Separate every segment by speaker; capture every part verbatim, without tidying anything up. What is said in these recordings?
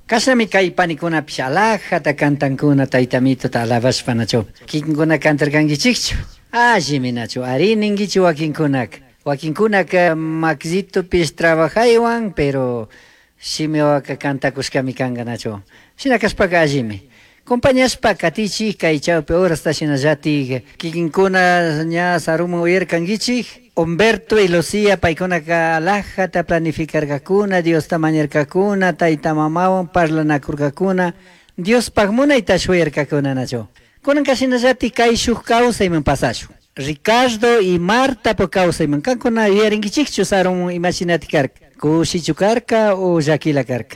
Speaker 1: Kashnami kay panikunapish alajata cantankuna tayta Amituta alabashpa nachu. Kikinkuna cantarkankichikchu? Allimi nachu, ari ninkichu wakinkunaka. Wakinkunaka makillitupish trabajaywan, pero shimiwaka cantakushkami kanka nachu. Shina kashpaka allimi. Compañashpa katichik kay chawpi horasta shinallatik kikinkuna ña saruman uyarkankichik. Humberto y Lucía paykunaka alajata planificarkakuna, Diosta mañarkakuna, tayta mamawan parlanakurkakuna, Diospaj munayta shuyarkakuna nachu. Kunanka shinallatik kay shuk kawsayman pasashun. Ricardo y Marta po kawsayman kankuna yuyarinkichikchu sarun imashinatik karka. Kushichu karka o llakila karka.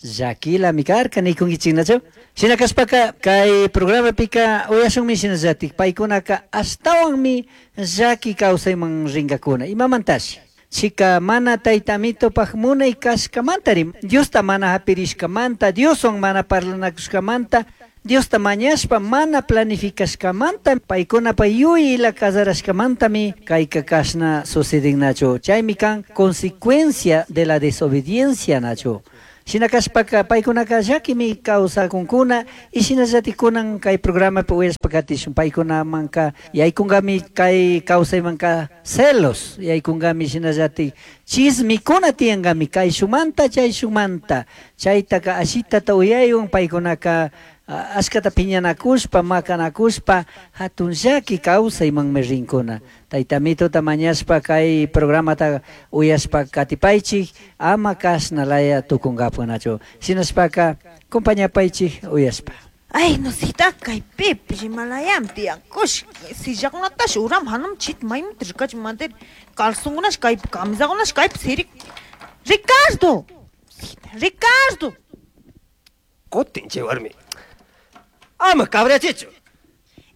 Speaker 1: Llakilami karka nikunkichik nachu. Shina kashpaka kay programapika uyashunmi shinallatik paykunaka ashtawanmi llaki kawsayman rinkakuna. Imamantashi? Chika mana tayta Amitopaj munay kashkamantari, Diosta mana hapirishkamanta, Dioswan mana parlanakushkamanta, Diosta mañashpa mana planificashkamanta, paykunapa yuyayla casarashkamantami kayka kashna sucedin nachu. Chaymi kan consecuencia de la desobediencia nachu. Shina kashpaka paykunaka llakimi kawsakunkuna y shinallatik kunan kay programapi uyashpa katishun paykunamanka yaykunkami kay kawsaymanka celos yaykunkami shinallatik chismikuna tiyankami kayshumanta chayshumanta chaytaka ashitata uyaywan paykunaka ashkata piñanakushpa makanakushpa hatun llaki kawsaymanmi rinkuna. Tayta Amituta mañashpa kay programata uyashpa katipaychik ama kashna laya tukunkapunachu. Shinashpaka compañapaychik uyashpa.
Speaker 2: Ay, no sita kay pip rimalayam tiyankush sillakunatash uram hanum chit maymut rikach mader calzonkunash kay camisakunash kaypi sirik. Ricardo! Ricardo!
Speaker 3: Kutin chay warmi. Ama cabrachichu.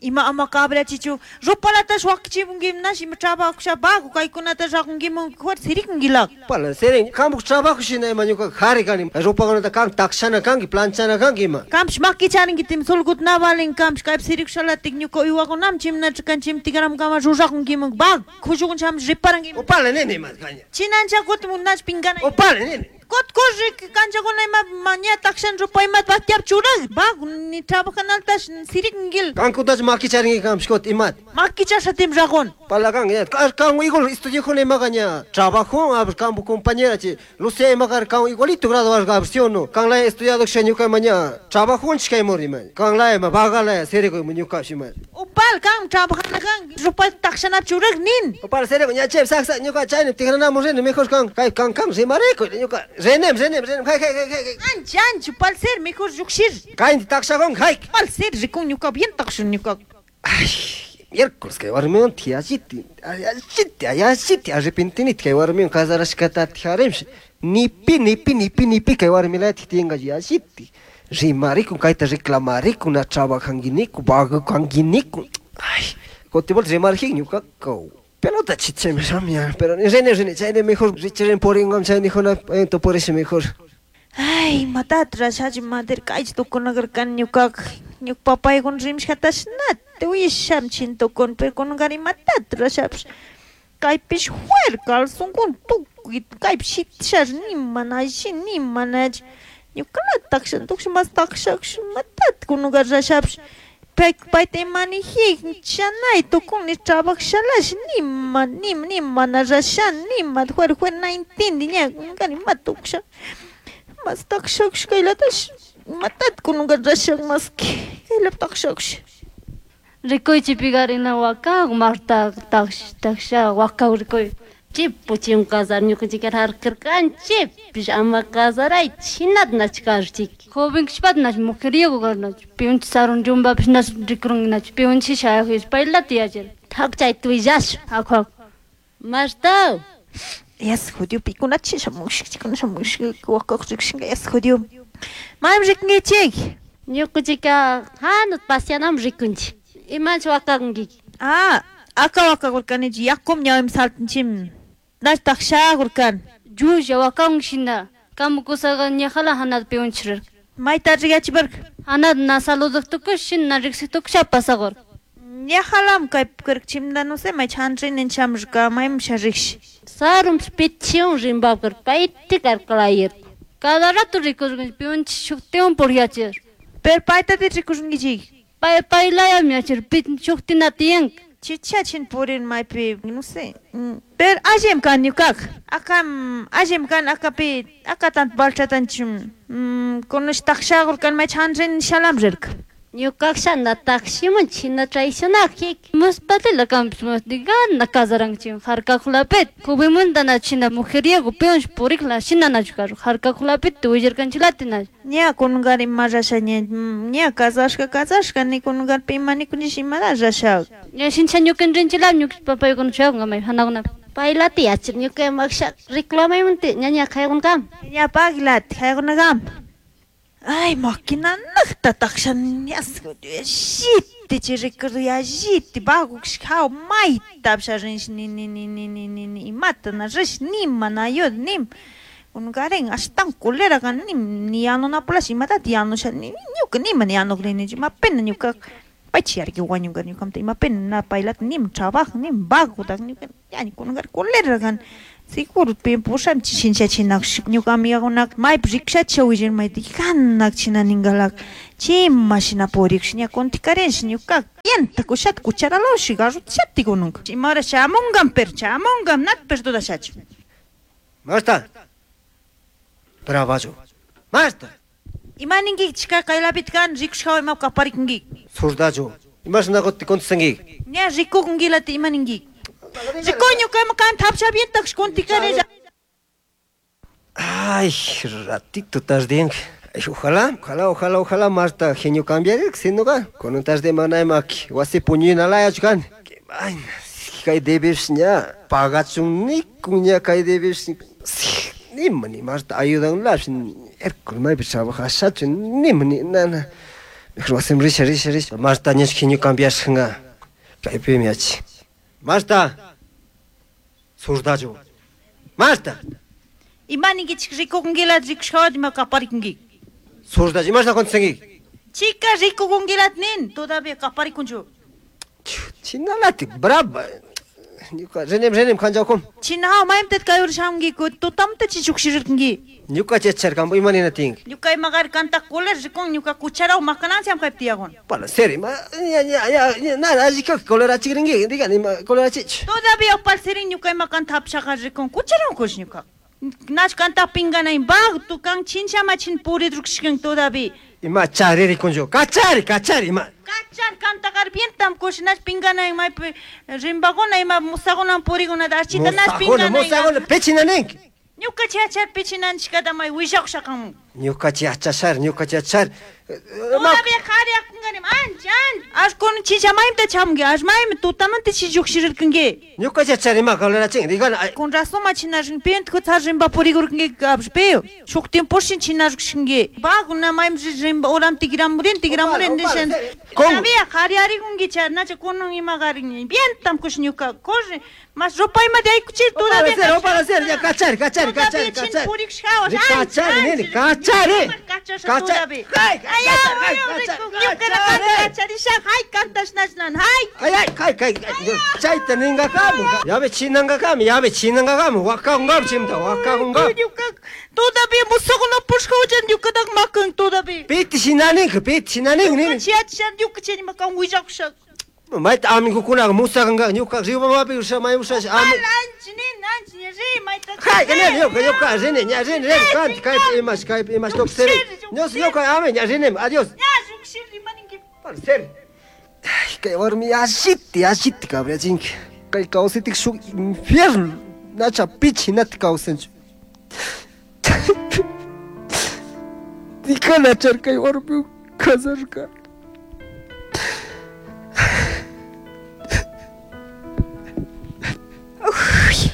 Speaker 2: Ima ama cabrachichu. Ropalatash wakichimunkimunash ima trabajo bajo kaykunata rakunkimun juer sirikunkilag.
Speaker 3: Pala sirin kamuk trabajo shina ima ñuka jari kani. Ropakunata kan takshana kanki planchana kanki ima.
Speaker 2: Kamsh makicharinki tim sulgut navalin kamsh kaypi sirikushalatik ñuka uywakunam chimnachikan chimtikaram kama rurakunkimun bag kushukun cham riparankimun.
Speaker 3: Upala nene ima kaña.
Speaker 2: Chinancha kutin nash pinkana.
Speaker 3: Upala nene.
Speaker 2: Kot korri kanchakuna ima maña takshan ropa ima batyap churag bag ni trabajanaltash sirikinkil.
Speaker 3: Kankutash makicharinki kamsh kot imat.
Speaker 2: Makichasha tim ragon.
Speaker 3: Pala kan ya kan igual estudio ima kaña trabajo a kampu compañera chi Lucía ima kar kan igualito grado al versión no kan la estudiado que ñuka maña trabajo chkay mori ma kan la ima bagala siriku ñuka shima.
Speaker 2: Upal kan trabajana kan ropa takshanap churag nin.
Speaker 3: Upal siriku ña chep sak sak ñuka chayni tigrana morene mejor kan kay kan kan rimareko ñuka renem renem renem hay hay hay hay.
Speaker 2: Ancha ancha upal ser mejor yukshir.
Speaker 3: Kain takshagon hay.
Speaker 2: Upal ser rikun ñuka bien takshun ñuka.
Speaker 3: Ay, miércoles kay warmiwan tiyashiti ayashiti ayashiti arrepentinit kay warmiwan casarashkata tijarimsh nipi nipi nipi nipi kay warmilata tiyanka yashiti rimarikun kayta reclamarikun na trabajankiniku vagakankinikun. Ay, kotibol rimarjik ñuka kaw pelota chicheme shamia pero rene rene chayne mejor richiren poringam chayne jona ento por ese mejor.
Speaker 2: Ay, matatra shachi mader kaychi tukunakarkan ñukaka ñuka papaykuna rimashkatash nata uyasham chintukun pero kunanka imatata rashapsh kaypish juer calzonkuna tukuy kaypi shitishash nima alli nima nachi ñukalata takshan tukush mas takshakush matata kunanka rashapsh pay payta imanijik chanay tukun ni trabajashalash nima nima nima mana rashan nima juer juer na intindi ña kunanka imata tukusha mas takshakush kaylatash matata kunanka rashak maski kaylap takshakush.
Speaker 4: Rikuychi pigarina waka Marta taksh taksha waka rikuy. Chipu chim casar ñukanchik harkarkanchik ama casaray chinat nachkarchik. Joven kishpat nach mujeriego garnach piunch sarun jumbapish nach rikurun nach piunchi shayajis paylata yachar.
Speaker 5: Hak chay tuillash.
Speaker 4: Hak hak.
Speaker 5: Marta.
Speaker 2: Yas jodió pikunachi shamushk chikuna shamushk wakaq rikshinka yas jodió. Maymi rikunkichik.
Speaker 5: Ñukanchika hanut pasianam rikunchik. Imanch wakakunki.
Speaker 2: Ah, aka wakakurkanichik yakum ñawimi saltanchim. Nach takshakurkan.
Speaker 4: Llulla wakakunki shina. Kamu kusaqa ñajala hanat piunchirir.
Speaker 2: Mayta rigachiparka.
Speaker 4: Hanat na saluduq tukush shina riksik tukusha pasaqur.
Speaker 2: Ñajalam kaypi karka chimda no sé may chanrinin chamrka maymi sharikshi.
Speaker 5: Sarumpish pichiwan rimpapkar payti karkalayir.
Speaker 4: Cada rato rikurqanchik piwanchik shuktiwan puriyachir.
Speaker 2: Pero paytati rikurqankichik.
Speaker 4: Pay paylayami yachir pit shuktina tiyanka.
Speaker 2: Chicha chin purin maypi, no sé. Pero allim kan ñukaqa. Akam allim kan akapi aka tant balchatanchim. Kunush taqshaqur kan may chanrin shalam rirka.
Speaker 5: Ñukaqa na takshiman china traicionajik.
Speaker 4: Muspatila kanpis gana kasaranchik harkakulapit. Kubimanta na china mujeriego piwansh purikla shina nachu karu harkakulapit willarkanchilati na.
Speaker 2: Ña kunungar ima rasha ña ña kasashka kasashka ni kunungar pima ni kunish imada rasha.
Speaker 4: Ña shincha ñukan rinchilam ñuka papaykuna chayanka may hanakuna.
Speaker 5: Paylati yachir ñuka maksha reclamaymunti ñaña kaykunkam.
Speaker 2: Ña paglati kaykunakam. Ay, maquinanaqta taqshan yalliti chay recuerdo yalliti bagushkaw mayta apsharinsh ni ni ni ni ni ni ni imata na rish nima na ayuda nim kunukaren ashtan culera kan nim ni yanunapulash imatata yanusha ni ñuka nima ni yanukrini ima pena ñuka paychi yarki wañunka ñukamanta ima pena na paylata nim trabajo nim baguta ñuka yani kunukar culera kan seguro pusham chinchachinakush ñuka amigakunaka maypi rikushachi willan mayta kanak china ningalaka chima shina purikush ña kuntikarinshi ñuka yanta kushata cucharalawashi garrotishati kununka ima hora shamunkan pero shamunkan nata pero dudashachu.
Speaker 3: Marta. Bravacho. Marta.
Speaker 2: Ima ninki chika kaylapita kan rikushkawa ima kaparikunki.
Speaker 3: Surdacho. Imashnakuti contestanki.
Speaker 2: Ña rikukunkilata ima ninki. Coño, ¿cómo canta?
Speaker 3: Ay, ratito tarde. Ojalá, ojalá, ojalá, ojalá, Marta, genio cambiar, si no va. Con un tarde manaimak, wasi puñina la yachkan. Ay, kay debes ña, pagachun ni kuña kay debes. Ni mani Marta ayudan la, erkul may trabaja shachu ni mani nana. Mejor wasim risha risha risha. Marta ña genio cambiar nga. Kay pimiachi. Marta. Surdacho. Marta.
Speaker 2: Ima ninkichik rikukunkilat rikushkawat ima kaparikunki.
Speaker 3: Surdacho, imashna contestanki.
Speaker 2: Chica rikukunkilat nin, todavía kaparikunchu.
Speaker 3: Chinalati, brava. Ñuka renem renem kanchawkum.
Speaker 2: China maymtat kayur shamki tutamta chichukshirirkanki.
Speaker 3: Ñuka chacharkambo ima nina tinki.
Speaker 2: Ñuka imagar kanta kuler rikun ñuka cucharaw makanansiam kaypi tiyakun.
Speaker 3: Pala serio, ma ya ya ya nada allika kolera chikrinki, digan ima kolera chich.
Speaker 2: Todavía opal sirin ñuka ima kanta hapshaqa rikun cucharaw kush ñuka. Nach kanta pinganay bag tu kan chinchama chin puridrukshikan todavía.
Speaker 3: Ima chari rikunchu, kachari kachari ima.
Speaker 2: Kachar kantakar vientam kush nach pinganay maypi rimbaguna ima musaguna puriguna achita nach pinganay.
Speaker 3: Musaguna pechinanenki.
Speaker 2: Ñuka chachar pichinanchikata may willakushaqamun.
Speaker 3: Ñuka chachashar, ñuka chachar.
Speaker 2: Todavía qhariyakunkanim ancha ancha. Ash kun chichamayta chamki, ash maymi tutamanta chillukshirkanki.
Speaker 3: Ñuka chachar ima kolera chin, digan.
Speaker 2: Con razón ma chinashkin pent kutsar rimba purigurkanki abshpeo. Shuk tiempo shin chinashkinki. Baguna maymi rimba oram tigramurin tigramurin nishan. Todavía qhariyarikunki nacha kunun ima qarin. Vientam kush ñuka corre. Mas ropa ima de aykuchir todavía.
Speaker 3: Para hacer, ya cachar, cachar, cachar, cachar. Cachar, nene, cachar,
Speaker 2: cachar. Ay, ay,
Speaker 3: ay, ay, ay, ay, chayta ningakamu. Yabe chinangakamu, yabe chinangakamu, wakakungam chimta, wakakungam.
Speaker 2: Todavía musaguna pushkawchan ñukatak makan todavía.
Speaker 3: Piti shinaninka, piti shinaninka, nene.
Speaker 2: Chiachan ñuka makan willakusha.
Speaker 3: Mayta amigukunaqa musakanqa ñuka riwamapi usha may usha ami.
Speaker 2: Anchi nin, anchi ri mayta.
Speaker 3: Hay, nene, ñuka ñuka rini, ña rini, rini, kanti kaypi imash, kaypi imash tuksiri. Ños ñuka ami, ña rinim, adiós.
Speaker 2: Ña lluqshiri maninki.
Speaker 3: Para ser. Ay, kay warmi alliti, alliti cabrachinki. Kay kawsaytik shuk infierno. Nacha pichi nati kawsanchu. Dikanachar kay warmi kasarka.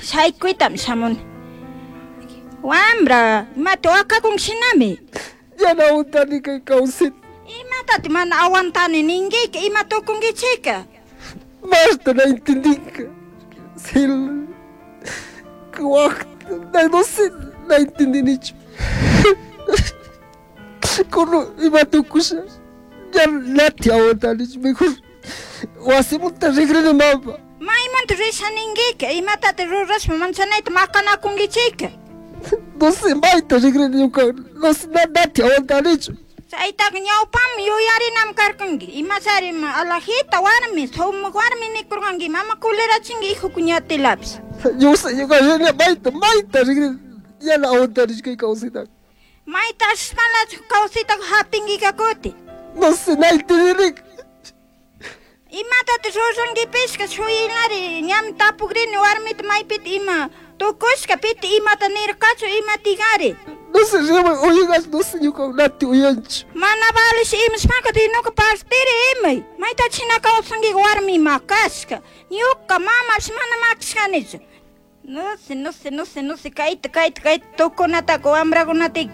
Speaker 6: Shaykuytam shamun. Wambra, imata waqakunshinami.
Speaker 3: Yana aguantani kay kawsayta.
Speaker 6: Imatati mana aguantani ninkiki, ima tukunkichika.
Speaker 3: Marta na entendinka. Sil. No sé, na entendinichu. Kono ima tukusha. Ya nati aguantanichu, mejor wasimanta rigrini mama.
Speaker 6: Maymanta risha ninkiki, imatati rurashpa manchanayta maqanakunkichika.
Speaker 3: No sé, mayta rigrini ñuka, no sé, nati aguantanichu.
Speaker 6: Chaytaqa ñawpami yuyarinam karkanki. Imachari alajita warmi, sumaq warmi nikurqanki, mama kulerachinki hijukuñatilapis.
Speaker 3: Yo sé, ñuka rini mayta, mayta rigrini, yana aguantanichu kay kawsaytaqa.
Speaker 6: Mayta ashpalachu kawsaytaqa hap'inkika kuti.
Speaker 3: No sé, naytirinik.
Speaker 6: Imatata rurankipisqa shuyinari, ñami tapukrini warmita maypita ima tukushka pita imata nirqachu imatigari.
Speaker 3: No sé, rimay uyanqachu, no sé, ñuka nati uyanchu.
Speaker 6: Mana valish imashpaqa dinuka partiri imay. Mayta china kawsankiqa warmi makashka. Ñuka mamapish mana makashkanichu. No sé, no sé, no sé, no sé, kayta, kayta, kayta tukunataka wamrakunata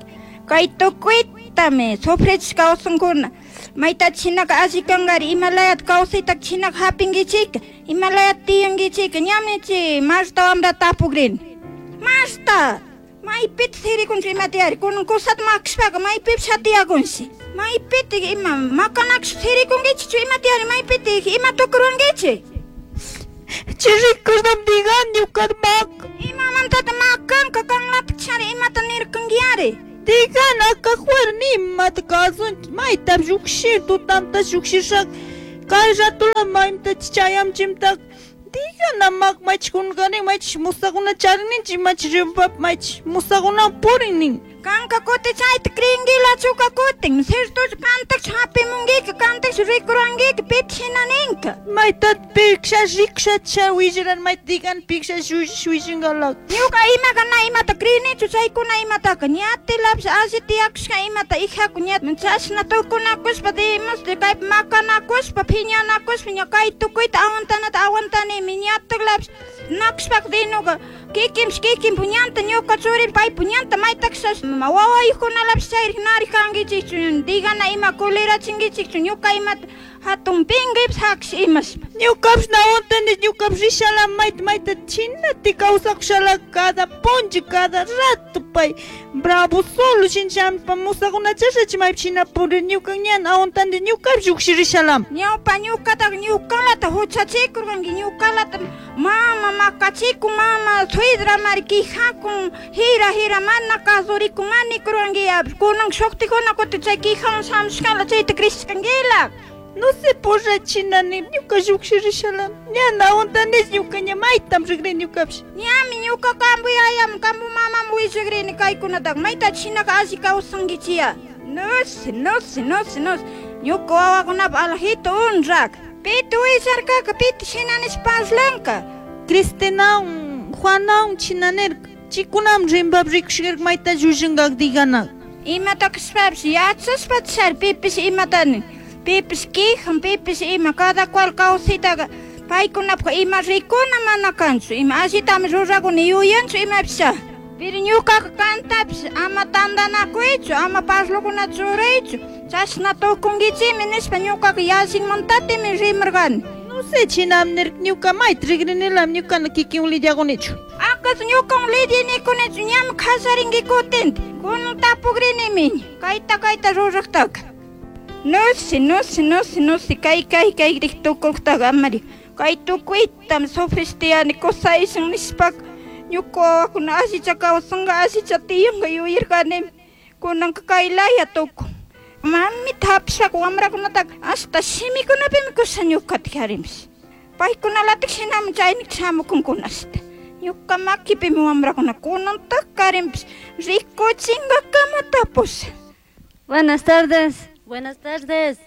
Speaker 6: kay tukuytami sufrichish kawsankuna. Mayta chinaka alli kankari imalayata kawsaytaka chinaka hapinkichika, imalayata tiyankichika, ñami chay Marta wamrata tapukrini. Marta, maypita sirikunchik imatiyari, kunan kusata makashpaka maypipish hatiyakunshi. Maypita ima makanakushpa sirikunkichikchu imatiyari, maypita ima tukurunkichik.
Speaker 2: Chay rikushnam digan ñuka maka.
Speaker 6: Imamantata makanka kanlatik chari imata nirkankiyari.
Speaker 2: Digan akajuar nimata kasunchik, mayta lluqshir tutanta lluqshishaq kay ratula maymta chayamchimtaq. Digan amak maychik kunqani maychik musakuna charinchik maychik rimpap maychik musakuna purin.
Speaker 6: Kanka kuti chayta creenkilachuka kutin, ciertochu kantakchu hapimunkika, kantakchu rikurankika, pita shina ninka.
Speaker 2: Mayta piksha riksha cha willaran mayta digan piksha shuyshingalak.
Speaker 6: Ñuka imaka na imata creenichu chaykuna imataka, ñatilapish alli tiyakushka imata hijaku ña chashna tukunakushpa dimas kaypi makanakushpa phiñanakushpa ña kay tukuyta aguantanata aguantanimi ñatilapish nakushpaka dinuka kikinpish kikinpu ñanta ñuka churi paypu ñanta maytakashash wawayuqkunalapish chayrik narik kankichikchu digana ima kulerachinkichikchu ñuka imata hatun pinqaypish hakish imashpa.
Speaker 2: Ñukapish na aguantani ñukapish rishala mayta mayta chinati kawsakushala cada puncha cada rato pay bravo solo shinchampa musakuna chashachi maypi shina purir ñuka ñan aguantani ñukapish lluqshi rishalam.
Speaker 6: Ñawpa ñukataqa ñukalata huchachikurqanki ñukalata mama makachikun mama suidramari quejakun hira hira mana kasurikun manikurqanki kunan shuqtikuna kutin chay quejawan shamushkala chayta crishkankila.
Speaker 2: No sé por chinani ñuka lluqshi rishalam ñan aguantani ñuka ña maytam rigrini ñukapish.
Speaker 6: Ñami ñuka kampu yayam kampu mamam willagrini kaykunataqa mayta chinaka alli kawsankichiya. No sé, no sé, no sé, no sé. Ñuka wawakunapa alajito unrak. Pita willarkaka pita shinanish parlanka.
Speaker 2: Cristinawan Juanawan chinanirka chikunam rimpap rikushkirka mayta llullinkak diganak.
Speaker 6: Imata kashpapish yachashpa chari pipish imatani. Pipish quijan, pipish ima, cada cual kawsaytaqa paykunapaq ima rikuna mana kanchu, ima allitami rurakuni yuyanchu imapish. Pero ñukaqa kantapish ama tantanakuychu, ama parlukunata ruraychu, chashna tukunkichikmi nishpa ñukaqa yallinmantatimi rimarqani.
Speaker 2: No sé chinam nirka ñuka mayta rigrinilam ñukana kikin lidiakunichu.
Speaker 6: Akaso ñukan lidinikunichu ñami kasarinki kutinta, kunan tapukrinimi kayta kayta ruraqtaka. No sé, no sé, no sé, no sé, kay kay kay tukuktaqa amari. Kay tukuytam sufristiyani kusaysan nishpaka ñuka wawakuna allicha kawsanka allicha tiyanka yuyarkanimi kunanka kay laya tukun. Mamita hapishpaka wamrakunataka hasta shimikunapimi kusa ñukata harinpish. Paykunalatik shinami chaynika shamukunkuna ashta. Ñuka makipimi wamrakuna kunantak karinpish rikuchinkakama tapusha.
Speaker 4: Buenas tardes.
Speaker 5: Buenas tardes.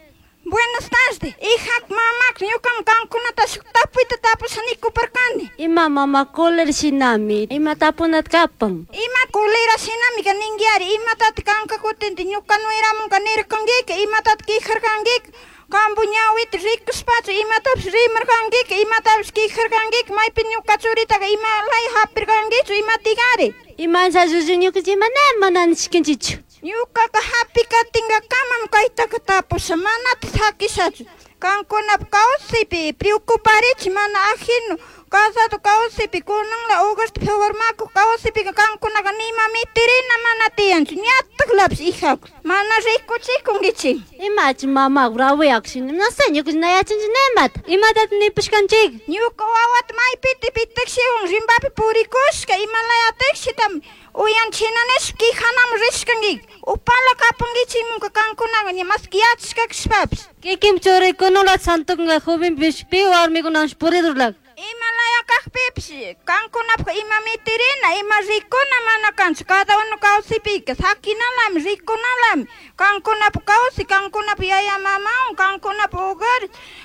Speaker 6: Buenas tardes. Hija, mamá, ñukam kankunata shuk tapuyta tapusha nikuparkani.
Speaker 5: Ima mama cólera shinami, ima tapunat kapan.
Speaker 6: Ima cólera shinami ka ninkiari, imatata kanka kutinti ñuka nueramunka nirkankika, imatata quejarkankika, kampu ñawita rikushpachu imatapish rimarkankika, imatapish quejarkankika, maypi ñuka churitaka ima laya hapirkankichu, imatikari.
Speaker 5: Imancha llullu ñukanchik ima mana nishkanchichu.
Speaker 6: Ñukaka hapikatinkakamam kaytaka tapusha, manata sakishachu. Kankunapa kawsaypi preocuparichi mana ajeno casado kawsaypi kunanla hogarta formakuq kawsaypika kankunaka nima mitirina mana tiyanchu ñataklapish hijaku mana rikuchikunkichik.
Speaker 5: Imachi mama bravuyakushini, no sé, ñukanchik na yachanchik nimata. Imatata nipashkanchik.
Speaker 6: Ñuka wawata maypita pitakshiwan rimpapi purikushka imalayatikshitam Uyan china nishpa quijanaman rishkanki. Upala kapankichikmunka kankunaqa ña maski yachashkakashpapish.
Speaker 4: Kikin churikunula santukunga jovenpish pi warmikunash puridurlak.
Speaker 6: Ima laya kajpipish kankunapaj ima mitirina, ima rikuna mana kanchu. Cada uno kawsaypika sakinalami, rikunalami. Kankunapaj kawsay, kankunapaj yaya mamawan, kankunapaj hogar,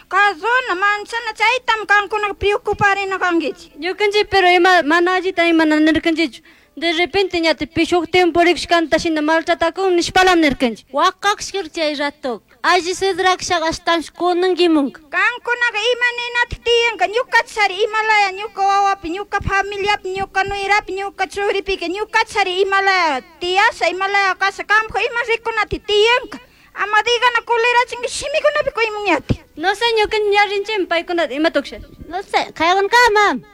Speaker 6: kazuna, manchana, chaytami kankunaka preocuparina kankichik.
Speaker 4: Ñukanchik pero ima mana allita ima nirkanchichu. De repente ñati pishuktin purikushkanta shina maltratakun nishpalam nirkanchik.
Speaker 5: Waqaqshkir chay rato. Alli sidrakshaq ashtansh kunankimunka.
Speaker 6: Kankunaqa ima ninatik tiyanka ñuqachari imalaya ñuqa wawapi, ñuqa familiapi, ñuqa nuirapi, ñuqa churipika, ñuqachari imalaya tiyasha, imalaya kasha, kampaj ima rikunati tiyanka. Ama digana culerachinki shimikunapi kuymunñati.
Speaker 4: No sé, ñukanchik ñarinchik paykunata ima tuksha.
Speaker 5: No sé, kaywan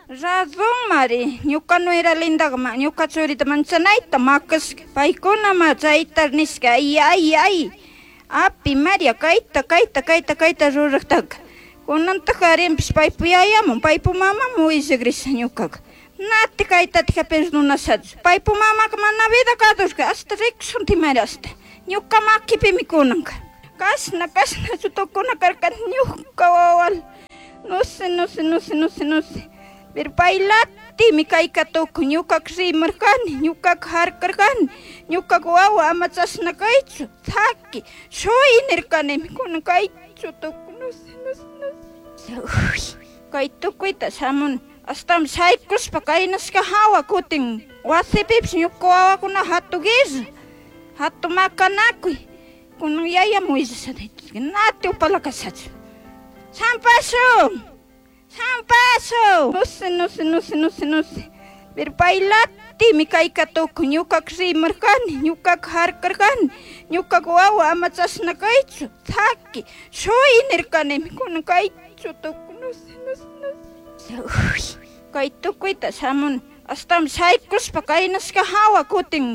Speaker 6: Razón mari, ñuqa nuera lindaqa ma, ñuqa churita manchanayta makashka. Paykuna ma chayta nishka, ay ay ay. Api Maria kayta kayta kayta kayta ruraqtaqa. Kunantaq arinpish paypu yayaman, paypu mamaman willagrisha ñuqaqa. Nati kaytatika perdonashachu. Paypu mamaka mana vida kadurka, hasta rikushunti mari hasta. Ñuqa makipimi kunanka. Kashna kashnachu tukuna karka ñuqa wawal. No sé, no sé, no sé, no sé, no sé. Pero paylatimi kayka tukun, ñuqaka rimarkani, ñuqaka harkarkani, ñuqaka wawa ama chashna kaychu, saki, shuy nirkanimi, kunan kaychu tukun, no sé, no sé, no sé. Uy, kay tukuyta shamuni, ashtawan shaykushpa kaynashka hawa kutin wasipipish ñuka wawakuna hatun guerra, hatun makanakuy, kunan yayaman willasha nati upala kashachu. Sampashun, Sampashun. No sé, no sé, no sé, no sé, no sé. Pero paylatimi kayka tukun, ñuqaka rimarkani, ñuqaka harkarkani, ñuqaka wawa ama chashna kaychu, saki, shuy nirkanimi, kunan kaychu tukun, no sé, no sé, no sé. Uy, kay tukuyta shamuni, ashtawan shaykushpa kaynashka hawa kutin